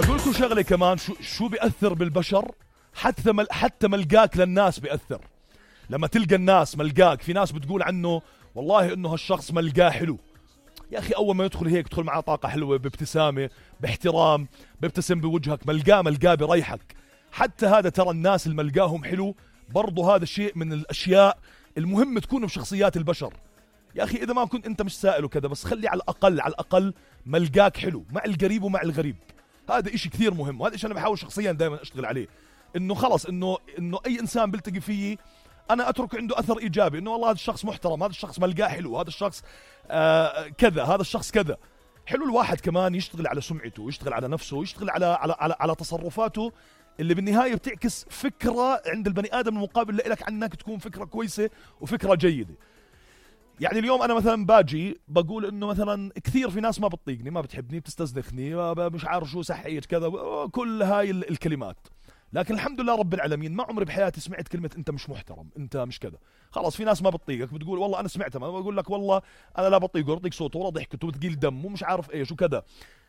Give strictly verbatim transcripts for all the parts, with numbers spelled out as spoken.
أقولكم شغلة كمان، شو شو بيأثر بالبشر، حتى مل حتى ملقاك للناس بيأثر. لما تلقى الناس ملقاك، في ناس بتقول عنه والله إنه هالشخص ملقاه حلو. يا أخي أول ما يدخل هيك تدخل معاه طاقة حلوة، بابتسامة، باحترام، بيبتسم بوجهك، ملقاه ملقاه بريحك. حتى هذا ترى الناس اللي ملقاهم حلو برضو هذا شيء من الأشياء المهم تكون بشخصيات البشر. يا أخي إذا ما كنت أنت مش سائل وكذا، بس خلي على الأقل على الأقل ملقاك حلو مع القريب ومع الغريب. هذا إشي كثير مهم، وهذا إشي أنا بحاول شخصيا دائما أشتغل عليه، إنه خلص إنه إنه أي إنسان بلتقي فيه أنا أترك عنده أثر إيجابي، إنه والله هذا الشخص محترم، هذا الشخص ملقاه حلو، هذا الشخص آه كذا، هذا الشخص كذا. حلو الواحد كمان يشتغل على سمعته، يشتغل على نفسه، يشتغل على على على, على تصرفاته اللي بالنهاية بتعكس فكرة عند البني آدم المقابل لك عنك، تكون فكرة كويسة وفكرة جيدة. يعني اليوم أنا مثلا باجي بقول إنه مثلا كثير في ناس ما بتطيقني، ما بتحبني، بتستزنخني، مش عارف شو صحيت كذا، كل هاي الكلمات. لكن الحمد لله رب العالمين ما عمري بحياتي سمعت كلمة أنت مش محترم، أنت مش كذا. خلاص في ناس ما بتطيقك بتقول والله أنا سمعتها، ما بقول لك والله أنا لا بطيقه، بطيق صوته ولا ضحكته وتقيل دم ومش عارف إيش وكذا.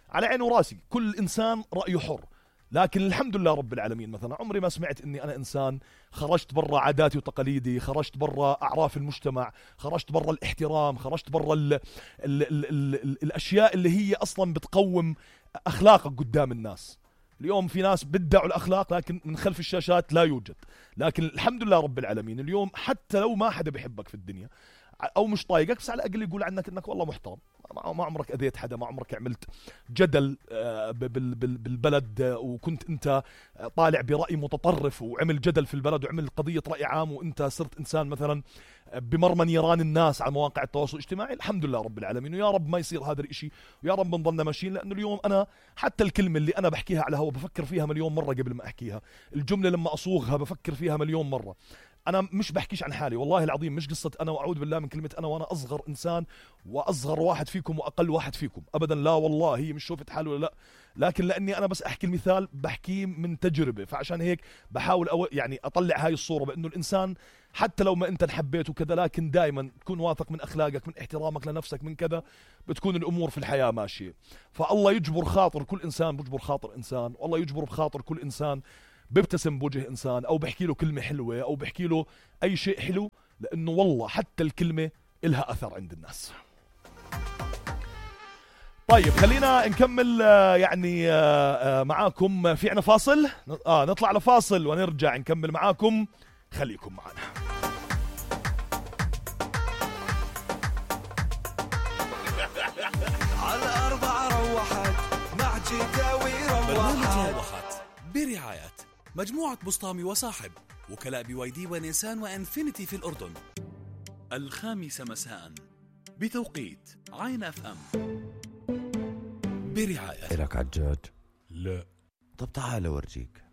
على عيني وراسي، كل إنسان رأيه حر. لكن الحمد لله رب العالمين مثلا عمري ما سمعت اني انا انسان خرجت برا عاداتي وتقاليدي، خرجت برا اعراف المجتمع، خرجت برا الاحترام، خرجت برا ال ال ال ال ال الاشياء اللي هي اصلا بتقوم اخلاقك قدام الناس. اليوم في ناس بدعوا الاخلاق لكن من خلف الشاشات لا يوجد. لكن الحمد لله رب العالمين اليوم حتى لو ما حدا بيحبك في الدنيا او مش طايقك، بس على الاقل يقول عنك انك والله محترم، ما عمرك اذيت حدا، ما عمرك عملت جدل بالبلد وكنت انت طالع برأي متطرف وعمل جدل في البلد وعمل قضية رأي عام، وانت صرت انسان مثلا بمرمى نيران الناس على مواقع التواصل الاجتماعي. الحمد لله رب العالمين، ويا رب ما يصير هذا الاشي، ويا رب بنضلنا ماشيين. لانه اليوم انا حتى الكلمة اللي انا بحكيها على هوا بفكر فيها مليون مرة قبل ما احكيها، الجملة لما اصوغها بفكر فيها مليون مرة. أنا مش بحكيش عن حالي والله العظيم، مش قصة أنا وأعوذ بالله من كلمة أنا وأنا أصغر إنسان وأصغر واحد فيكم وأقل واحد فيكم أبدا، لا والله هي مش شوفت حال ولا لا، لكن لأني أنا بس أحكي المثال بحكيه من تجربة، فعشان هيك بحاول أو يعني أطلع هاي الصورة بأنه الإنسان حتى لو ما أنت نحبيت وكذا، لكن دائما تكون واثق من أخلاقك، من احترامك لنفسك، من كذا بتكون الأمور في الحياة ماشية. فالله يجبر خاطر كل إنسان، بيجبر خاطر إنسان، والله يجبر بخاطر كل إنسان بيبتسم بوجه إنسان أو بحكي له كلمة حلوة أو بحكي له أي شيء حلو، لأنه والله حتى الكلمة إلها أثر عند الناس. طيب خلينا نكمل يعني معاكم، في عنا فاصل، آه نطلع لفاصل ونرجع نكمل معاكم، خليكم معنا. على أربعة روحت مع جداوي روحت برعاية مجموعة بسطامي وصاحب، وكلاء بي واي دي ونيسان وانفينيتي في الأردن. الخامسة مساء بتوقيت عين اف ام برعاية. إلك عجاج؟ لا. طب تعال ورجيك.